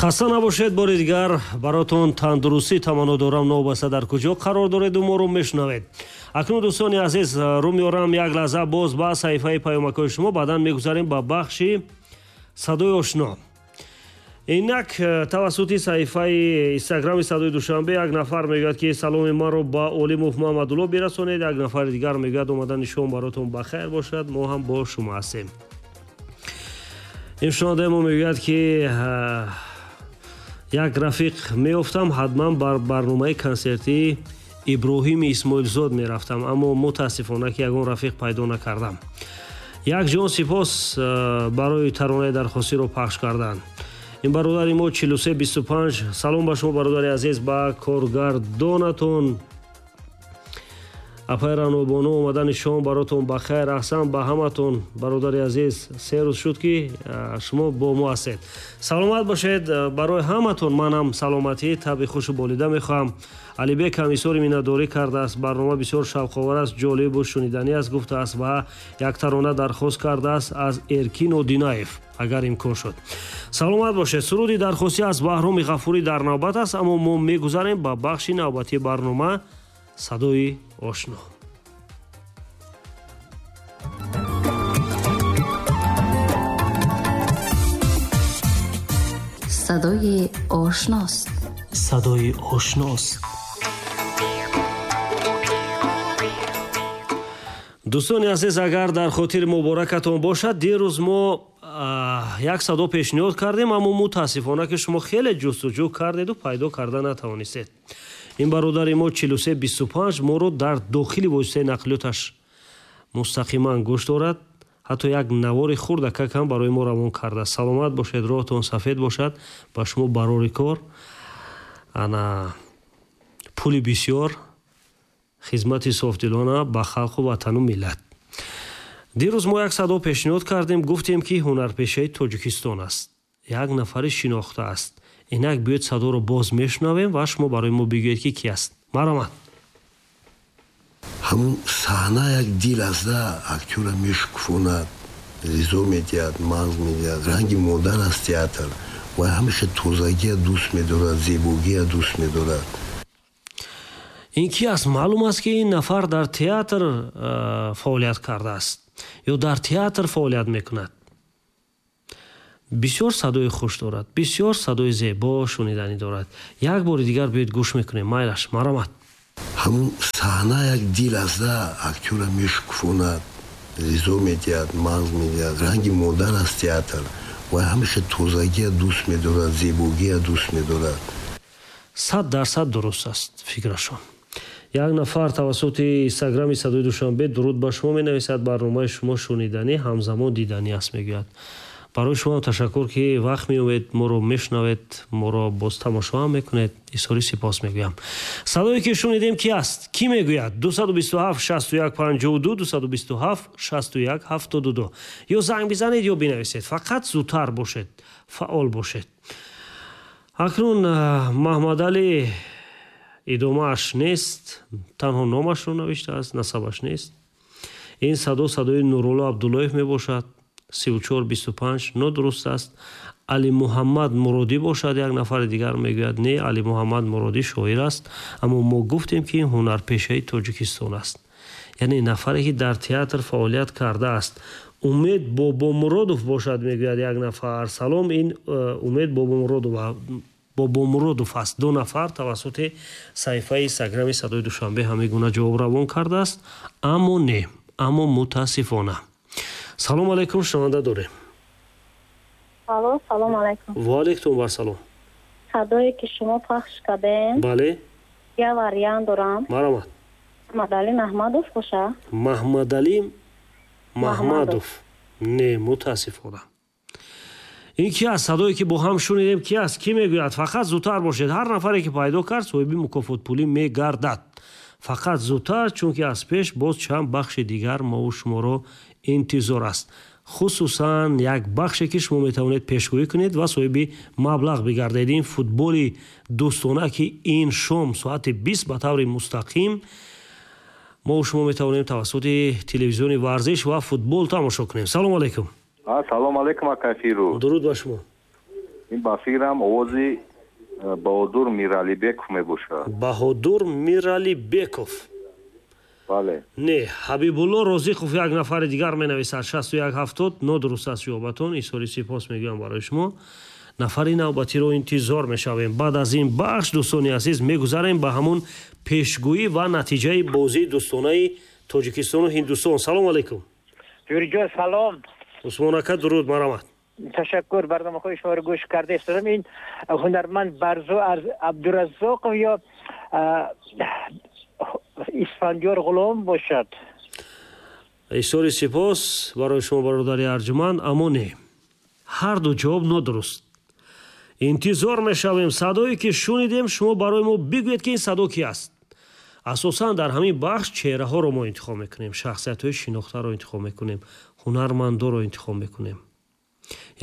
Хаста набошед, бори дигар баротон тандурустӣ таманно дорам. Новобаста дар куҷо қарор дореду моро мешунавед. Акнун, дӯстони азиз, рӯ меорам як лаҳза боз ба саҳифаи паёмакҳои шумо, баъдан мегузарем ба бахши садои ошно. Инак, тавассути саҳифаи инстаграми Садои Душанбе як нафар мегӯяд, ки саломи маро ба Олимов Муҳаммадулло бирасонед. Як нафари дигар мегӯяд, омадани шом баротон ба хайр бошад, мо ҳам бо шумо ҳастем. Ин шунавандаи мо мегӯяд, ки як рафиқ меёфтам, ҳатман бар барномаи консертии Иброҳими Исмоилзод мерафтам, аммо мутаассифона, ки ягон рафиқ пайдо накардам. Як ҷон сипос барои таронаи дархостиро пахш кардан. Ин бародари мо 4325, салом ба шумо, бародари азиз, ба коргардонатон апай Ранобону, омадани шом баротон ба хайр. Аҳсан ба ҳаматон, бародари азиз, 3 рӯз шуд, ки шумо бо мо ҳастед. Саломат бошед. Барои ҳаматон манам саломатӣ, табъи хушу болида мехоҳам. Алибек ҳам изҳори миннатдорӣ кардааст. Барнома бисёр шавқовар аст, ҷолибу шуниданӣ аст, гуфтааст ва як тарона дархост кардааст аз Эркин Одинаев, агар имкон шуд. Саломат бошед. Суруди дархостӣ аз Баҳроми Ғафурӣ дар навбат аст, аммо мо мегузарем ба бахши навбатии барнома, садои ошно. Садои ошност. Садои ошност. Дӯстони азиз, агар дар хотири муборакатон бошад, дирӯз мо як садо пешниҳод кардем, аммо мутаассифона, ки шумо хеле ҷустуҷӯ кардеду пайдо карда натавонистед. Ин бародари мо 4325 моро дар дохили воситаи нақлиёташ мустақиман гӯш дорад, ҳатто як навори хурдакак ҳам барои мо равон кардааст. Саломат бошед, роҳатон сафед бошад, ба шумо барори кор, ана пули бисёр, хизмати софдилона ба халқу ватану миллат. Дирӯз мо як садо пешниҳод кардем, гуфтем, ки ҳунарпешаи Тоҷикистон аст, як нафари шинохта аст. Инак, биёед, садоро боз мешунавем ва шумо барои мо бигӯед, ки ки аст. Марҳамат. Ҳамун саҳна як дил аст да, актёра мешукуфонад, ғизо медиҳад, мағз медиҳад. Ранги модар аст театр ва ҳамеша тозагия дӯст медорад, зебогия дӯст медорад. Ин ки аст? Маълум аст, ки ин нафар дар театр фаъолият кардааст ё дар театр фаъолият мекунад. Бисёр садои хуш дорад, бисёр садои зебо шуниданӣ дорад. Як бори дигар биёед, гӯш мекунем. Майлаш, марҳамат. Ҳамун саҳна як дил аст да, актёра мешукуфонад, ғизо медиҳад, мағз медиҳад. Ранги модар аст театр ва ҳамеша тозагия дӯст медорад, зебогия дӯст медорад. 100% дуруст аст фикрашон. Як нафар тавассути инстаграми Садои Душанбе дуруд ба шумо менависад, барномаи шумо шуниданӣ, ҳамзамон диданӣ аст, мегӯяд. Барои шумо ташаккур, ки вақт меёбед, моро мешунавед, моро боз тамошо ҳам мекунед. Изҳори сипос мегӯям. Садое ки шунидем, ки аст? Кӣ мегӯяд? 227 61 52, 227 61 72. Ё занг бизанед, ё бинависед, фақат зудтар бошед, фаъол бошед. Акнун Маҳмадалӣ, идомааш нест, танҳо номашро навиштааст, насабаш нест. Ин садо садои Нурулло Абдуллоев мебошад. 3425 нодуруст аст. Алимуҳаммад Муродӣ бошад, як нафари дигар мегӯяд. Не, Алимуҳаммад Муродӣ шоир аст, аммо мо гуфтем, ки ин ҳунарпешаи Тоҷикистон аст, яъне нафаре, ки дар театр фаъолият кардааст. Умед Бобомуродов бошад, мегӯяд як нафар. Салом, ин Умед Бобомуродов аст. Ду нафар тавассути саҳифаи инстаграми Садои Душанбе ҳамин гуна ҷавоб равон кардааст, аммо не, аммо мутаассифона. Салом алайкум, шунаванда дорем. Алло, салом алайкум. Ва алайкум вассалом. Садое ки шумо пахш кардем. Бале. Я вариант дорам. Марҳамат. Маҳмадалӣ Маҳмадов боша. Маҳмадалӣ Маҳмадов. Не, мутаассифона. Ин ки аст? Садое ки бо ҳам шунидем, ки аст? Кӣ мегӯяд? Фақат зудтар бошед. Ҳар нафаре ки пайдо кард, соҳиби мукофотпулӣ мегардад. Фақат зудтар, чунки аз пеш боз чанд бахши дигар мову шуморо интизор аст, хусусан як бахше, ки шумо метавонед пешгӯӣ кунед ва соҳиби маблағ бигардед. Ин футболи дӯстона, ки ин шом соати 20 ба таври мустақим мо шумо метавонем тавассути телевизиони варзиш ва футбол тамошо кунем. Салому алайкум. Салом алайкум, ака Фирӯз. Дуруд ба шумо. Ин ба фикрам овози Баҳодур Миралибеков мебошад. Баҳодур Миралибеков. Бале. Не, Ҳабибулло Розиқов як нафари дигар менависад 6170. Нодуруст аст ҷавобатон. Изҳори сипос мегӯям барои шумо. Нафари навбатиро интизор мешавем. Баъд аз ин бахш, дӯстони азиз, мегузарем ба ҳамон пешгӯӣ ва натиҷаи бозии дӯстонаи Тоҷикистону Ҳиндустон. Салом алайкум. Ҷӯриҷон, салом. Усмон ака, дуруд, марҳамат. Ташаккур, барномаҳои шуморо гӯш карда истодам. Ин ҳунарманд Барзу Абдураззоқов ё Исфандиёр Ғулом бошад. Изҳори сипос барои шумо, бародари арҷуманд, аммо не, ҳар ду ҷавоб нодуруст. Интизор мешавем. Садое ки шунидем, шумо барои мо бигӯед, ки ин садо ки аст. Асосан дар ҳамин бахш чеҳраҳоро мо интихоб мекунем, шахсиятҳои шинохтаро интихоб мекунем, ҳунармандоро интихоб мекунем,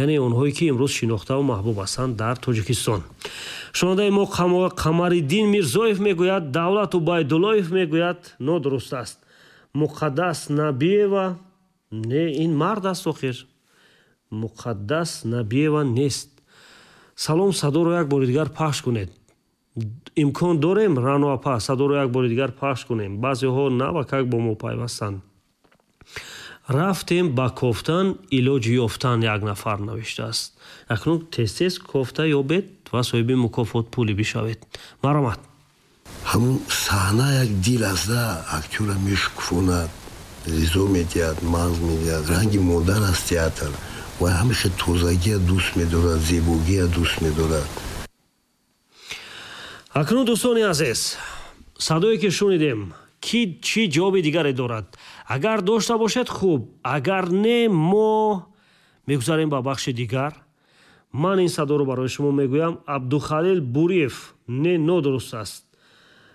яъне онҳое ки имрӯз шинохтаву маҳбуб ҳастанд дар Тоҷикистон. Шунавандаи мо Қамариддин Мирзоев мегӯяд, Давлат Убайдуллоев мегӯяд, нодуруст аст. Муқаддас Набиева, не, ин мард аст охир, Муқаддас Набиева нест. Салом, садоро як бори дигар пахш кунед. Имкон дорем, Рано апа, садоро як бори дигар пахш кунем? Баъзеҳо навакак бо мо пайвастанд. Рафтем ба кофтан, илоҷи ёфтан, як нафар навиштааст. Акнун тез-тез кофта ёбед ва соҳиби мукофот пулӣ бишавед. Марҳамат. Ҳамун саҳна як дил аст, актёра мешукуфонад, ғизо медиҳад, мағз медиҳад. Ранги модар аст театр. Ва ҳамеша тозагия дӯст медорад, зебогия дӯст медорад. Акнун, дӯстони азиз, садое ки шунидем, ки чӣ ҷавоби дигаре дорад? Агар дошта бошед, хуб, агар не, мо мегузарем ба бахши дигар. Ман ин садоро барои шумо мегӯям. Абдухалил Буриев, не, нодуруст аст.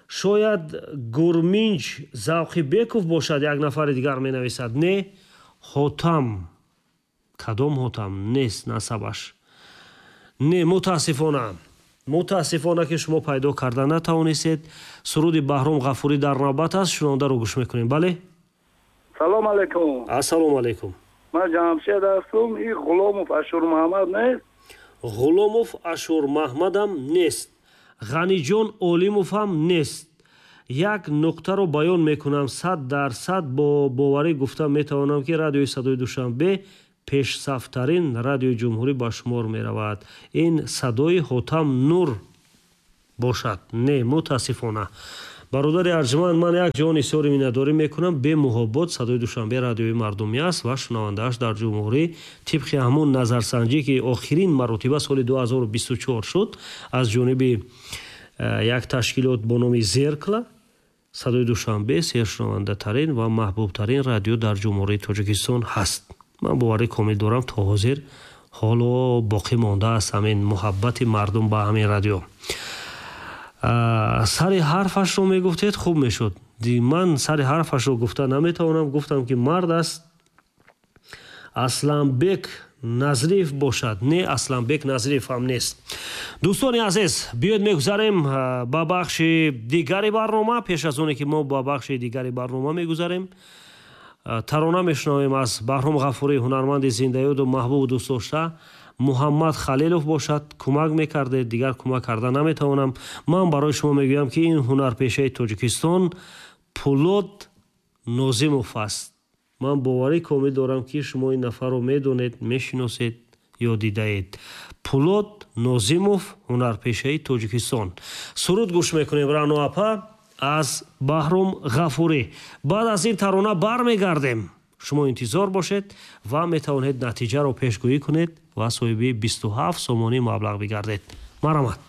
Шояд Гурминҷ Завқибеков бошад, як нафари дигар менависад. Не, Ҳотам, кадом Ҳотам нест насабаш. Не, мутаассифона, мутаассифона, ки шумо пайдо карда натавонистед. Суруди Баҳром Ғафурӣ дар навбат аст, шунавандаро гӯш мекунем. Бале. Салом алайкум. Ассалому алайкум. Ман Ҷамшед ҳастам. Ин Ғуломов Ашурмаҳмад нест? Ғуломов Ашурмаҳмадам нест, Ғаниҷон Олимовам нест. Як нуқтаро баён мекунам: 100% бо боварӣ гуфта метавонам, ки радиои Садои Душанбе пешсафтарин радиои ҷумҳурӣ ба шумор меравад. Ин садои Ҳотам Нур бошад? Не, мутаассифона, бародари арҷуманд, ман як ҷаҳон изҳори миннатдорӣ мекунам. Бемуҳобот Садои Душанбе радиои мардумӣ аст ва шунавандааш дар ҷумҳурӣ тибқи ҳамун назарсанҷӣ, ки охирин маротиба соли 2024 шуд аз ҷониби як ташкилот бо номи Зеркало, Садои Душанбе сершунавандатарин ва маҳбубтарин радио дар Ҷумҳурии Тоҷикистон ҳаст. Ман боварӣ комил дорам, то ҳозир ҳоло боқӣ мондааст ҳамин муҳаббати мардум ба ҳамин радио. Сари ҳарфашро мегуфтед, хуб мешуд. Ман сари ҳарфашро гуфта наметавонам. Гуфтам, ки мард аст. Асланбек Назриев бошад? Не, Асланбек Назриев ҳам нест. Дӯстони азиз, биёед мегузарем ба бахши дигари барнома. Пеш аз оне ки мо ба бахши дигари барнома мегузарем, тарона мешунавем аз Баҳром Ғафурӣ, ҳунарманди зиндаёду маҳбубу дӯстдошта. Муҳаммад Халилов бошад? Кӯмак мекардед, дигар кӯмак карда наметавонам. Ман барои шумо мегӯям, ки ин ҳунарпешаи Тоҷикистон Пулод Нозимов аст. Ман боварӣ комил дорам, ки шумо ин нафарро медонед, мешиносед ё дидаед. Пулод Нозимов, ҳунарпешаи Тоҷикистон. Суруд гӯш мекунем, Рано апа, аз Баҳром Ғафурӣ. Баъд аз ин тарона бармегардем. Шумо интизор бошед ва метавонед натиҷаро пешгӯӣ кунед ва соҳиби 27 сомонӣ маблағ бигардед. Марҳамат.